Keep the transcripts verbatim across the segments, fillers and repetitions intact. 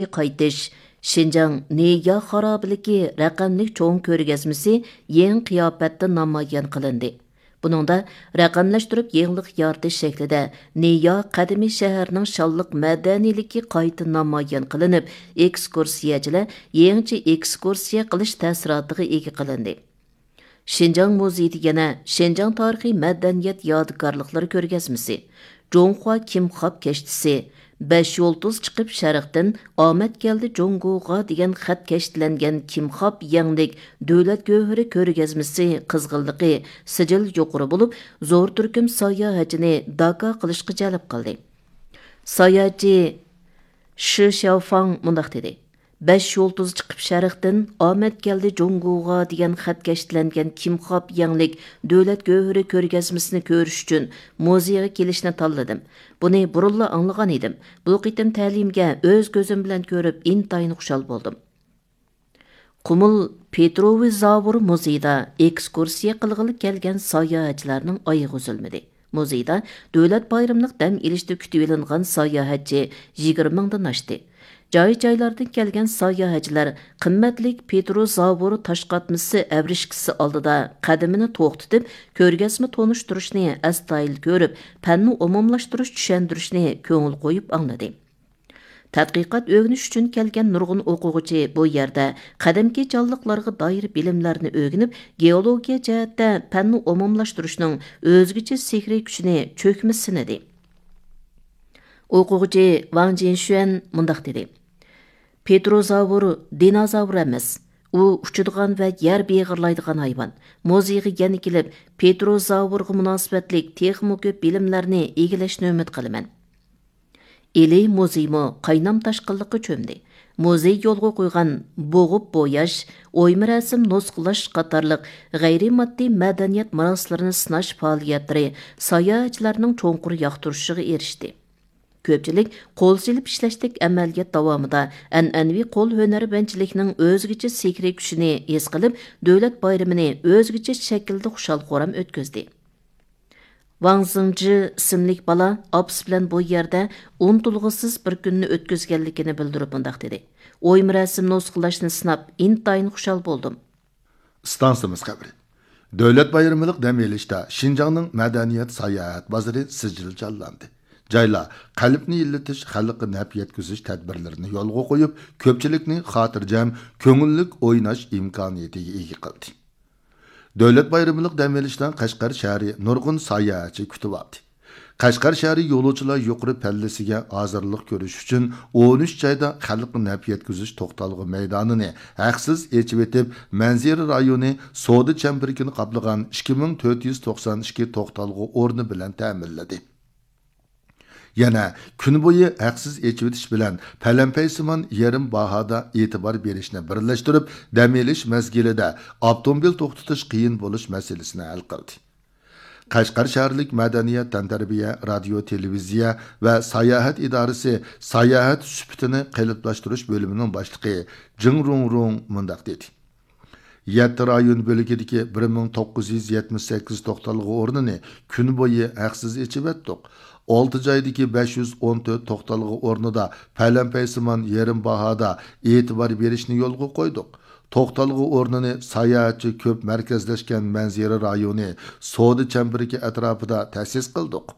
قايتىش، شىنجاڭ نىيا خارابىلىكى رەقەملىك چوڭ كۆرگەزمىسى يېڭى قىياپەتتە نامايان قىلىندى. بۇنىڭدا رەقەملەشتۈرۈپ يېڭىلىق يارىتىش شەكلىدە نىيا قەدىمىي شەھەرنىڭ شانلىق مەدەنىيلىكى قايتا نامايان قىلىنىپ، ئېكسكۇرسىيەچىلەر يېڭىچە ئېكسكۇرسىيە قىلىش تەسىراتىغا ئىگە قىلىندى. شىنجاڭ مۇزېيىدا يەنە شىنجاڭ تارىخىي مەدەنىيەت يادىكارلىقلىرى كۆرگەزمىسى، جۇڭخۇا كىمخاب كەشتىسى، بەش يۇلتۇز چىقىپ شەرقتىن، ئامەت كەلدى جۇڭگوغا دېگەن خەت كەشتىلەنگەن كىمخاب يەڭلىك دۆلەت گۆھىرى كۆرگەزمىسى قىزغىنلىقى سىجىل يۇقىرى بولۇپ، زور تۈركۈم ساياھەتچىنى داكا قىلىشقا جەلپ قىلدى. ساياھەتچى شى شياۋفاڭ مۇنداق دېدى: «بەش يۇلتۇز چىقىپ شەرقتىن، ئامەت كەلدى جۇڭگوغا» دېگەن خەت كەشتىلەنگەن كىمخاب يەڭلىك دۆلەت گۆھىرى كۆرگەزمىسىنى كۆرۈش ئۈچۈن مۇزېيغا كېلىشنى تاللىدىم. بۇنى بۇرۇنلا ئاڭلىغان ئىدىم. بۇ قېتىم تەلىيىمگە ئۆز كۆزۈم بىلەن كۆرۈپ ئىنتايىن خۇشال بولدۇم. قۇمۇل پېتروۋى زاۋۇر مۇزېيىدا ئېكسكۇرسىيە قىلغىلى كەلگەن ساياھەتچىلەرنىڭ ئايىغى ئۈزۈلمىدى. مۇزېيدا دۆلەت بايرىملىق دەم ئېلىشتا كۈتۈۋېلىنغان ساياھەتچى يىگىرمە مىڭدىن ئاشتى. جاي-جايلاردىن كەلگەن ساياھەتچىلەر قىممەتلىك پېتروزاۋور تاشقاتمىسى ئەۋرىشكىسى ئالدىدا قەدىمىنى توختىتىپ، كۆرگەزمە تونۇشتۇرۇشنى ئەستايىدىل كۆرۈپ، پەننى ئومۇملاشتۇرۇش چۈشەندۈرۈشنى كۆڭۈل قويۇپ ئاڭلىدى. تەتقىقات ئۆگىنىش ئۈچۈن كەلگەن نۇرغۇن ئوقۇغۇچى بۇ يەردە قەدىمكى جانلىقلارغا دائىر بىلىملەرنى ئۆگىنىپ، گېئولوگىيە جەھەتتە پەننى ئومۇملاشتۇرۇشنىڭ ئۆزگىچە سېھرىي كۈچىنى چۆكمە سىنىدى. ئوقۇغۇچى ۋاڭ جىنشۈەن مۇنداق دېدى: «پېتروزاۋر دىنوزاۋر ئەمەس، ئۇ ئۇچىدىغان ۋە يەر بېغىرلايدىغان ھايۋان. مۇزېيغا يەنە كېلىپ، پېتروزاۋرغا مۇناسىۋەتلىك تېخىمۇ كۆپ بىلىملەرنى ئىگىلەشنى ئۈمىد قىلىمەن.» ئىلى مۇزېيمۇ قاينام تاشقىنلىققا چۆمدى. مۇزېي يولغا قويغان بوغۇپ بوياش، ئويما رەسىم نۇسخىلاش قاتارلىق غەيرىي ماددىي مەدەنىيەت مىراسلىرىنى سىناش پائالىيەتلىرى ساياھەتچىلەرنىڭ چوڭقۇر ياقتۇرۇشىغا ئېرىشتى. كۆپچىلىك قول سېلىپ ئىشلەشتەك ئەمەلىيەت داۋامىدا ئەنئەنىۋى قول ھۈنەرۋەنچىلىكنىڭ ئۆزگىچە سېھرىي كۈچىنى ھېس قىلىپ، دۆلەت بايرىمىنى ئۆزگىچە شەكىلدە خۇشال-خۇرام ئۆتكۈزدى. ۋاڭ زىڭجى ئىسىملىك بالا ئاپىسى بىلەن بۇ يەردە ئۇنتۇلغۇسىز بىر كۈننى ئۆتكۈزگەنلىكىنى بىلدۈرۈپ مۇنداق دېدى: «ئويما رەسىم نۇسخىلاشنى سىناپ، ئىنتايىن خۇشال بولدۇم.» ئىستانسىمىز خەۋىرى. دۆلەت بايرىملىق دەم ئېلىشتا شىنجاڭنىڭ مەدەنىيەت ساياھەت بازىرى سىجىل جانلاندى. جايلار قەلبنى ئىللىتىش، خەلققە نەپ يەتكۈزۈش تەدبىرلىرىنى يولغا قويۇپ، كۆپچىلىكنى خاتىرجەم، كۆڭۈللۈك ئويناش ئىمكانىيىتىگە ئىگە قىلدى. دۆلەت بايرىملىق دەم ئېلىشتا قەشقەر شەھىرى نۇرغۇن ساياھەتچى كۈتۈۋالدى. قەشقەر شەھىرى يولۇچىلار يۇقىرى پەللىسىگە ھازىرلىق كۆرۈش ئۈچۈن ئون ئۈچ جايدا خەلققە نەپ يەتكۈزۈش توختالغۇ مەيدانىنى ھەقسىز ئېچىۋېتىپ، مەنزىرە رايونى سودا چەمبىرىكىنى قاپلىغان ئىككى مىڭ تۆت يۈز توقسان ئىككى توختالغۇ ئورنى بىلەن تەمىنلىدى. يەنە كۈن بويى ھەقسىز ئېچىۋېتىش بىلەن پەلەمپەيسىمان يېرىم باھادا ئېتىبار بېرىشنى بىرلەشتۈرۈپ، دەم ئېلىش مەزگىلىدە ئاپتوموبىل توختىتىش قىيىن بولۇش مەسىلىسىنى ھەل قىلدى. قەشقەر شەھەرلىك مەدەنىيەت، تەنتەربىيە، رادىيو، تېلېۋىزىيە ۋە ساياھەت ئىدارىسى ساياھەت سۈپىتىنى قېلىپلاشتۇرۇش بۆلۈمىنىڭ باشلىقى جېڭ رۇڭرۇڭ مۇنداق دېدى: «يەتتە رايون بۆلىكىدىكى بىر مىڭ توققۇز يۈز يەتمىش سەككىز توختالغۇ ئورنىنى كۈن بويى ھەقسىز ئېچىۋەتتۇق. ئالتە جايدىكى بەش يۈز ئون تۆت توختالغۇ ئورنىدا پەلەمپەيسىمان يېرىم باھادا ئېتىبار بېرىشنى يولغا قويدۇق. توختالغۇ ئورنىنى ساياھەتچى كۆپ مەركەزلەشكەن مەنزىرە رايونى سودا چەمبىرىكى ئەتراپىدا تەسىس قىلدۇق.»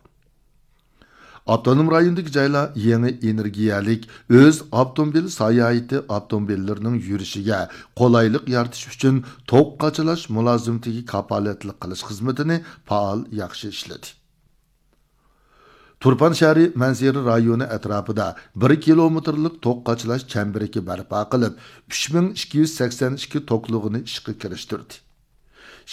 ئاپتونوم رايوندىكى جايلار يېڭى ئېنېرگىيەلىك ئۆز ئاپتوموبىل ساياھىتى ئاپتوموبىللىرىنىڭ يۈرۈشىگە قولايلىق يارىتىش ئۈچۈن توك قاچىلاش مۇلازىمىتىگە كاپالەتلىك قىلىش خىزمىتىنى پائال ياخشى ئىشلىدى. تۇرپان شەھىرى مەنزىرە رايونى ئەتراپىدا بىر كىلومېتىرلىق توك قاچىلاش چەمبىرىكى بەرپا قىلىپ، ئۈچ مىڭ ئىككى يۈز سەكسەن ئىككى توكلۇقىنى ئىشقا كىرىشتۈردى.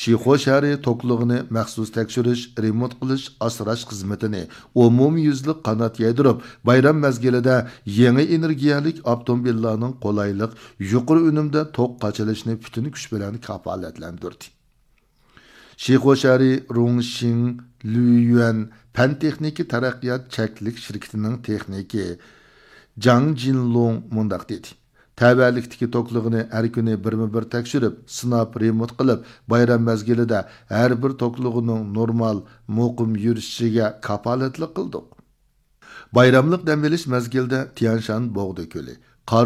شىخۇ شەھىرى توكلۇقىنى مەخسۇس تەكشۈرۈش، رېمونت قىلىش، ئاسراش خىزمىتىنى ئومۇميۈزلۈك قانات يايدۇرۇپ، بايرام مەزگىلىدە يېڭى ئېنېرگىيەلىك ئاپتوموبىللارنىڭ قولايلىق، يۇقىرى ئۈنۈمدە توك قاچىلىشىنى پۈتۈن كۈچ بىلەن كاپالەتلەندۈردى. شىخۇ شەھىرى رۇڭشىڭ لۈيۈەن پەن تېخنىكا تەرەققىيات چەكلىك شىركىتىنىڭ تېخنىكى جاڭ جىنلۇڭ مۇنداق دېدى: «تەۋەلىكتىكى توكلۇقىنى ھەر كۈنى بىرمۇ بىر تەكشۈرۈپ، سىناپ، رېمونت قىلىپ، بايرام مەزگىلىدە ھەر بىر توكلۇقىنىڭ نورمال، مۇقىم يۈرۈشۈشىگە كاپالەتلىك قىلدۇق.» بايراملىق دەم ئېلىش مەزگىلىدە تيەنشان بوغدا كۆلى،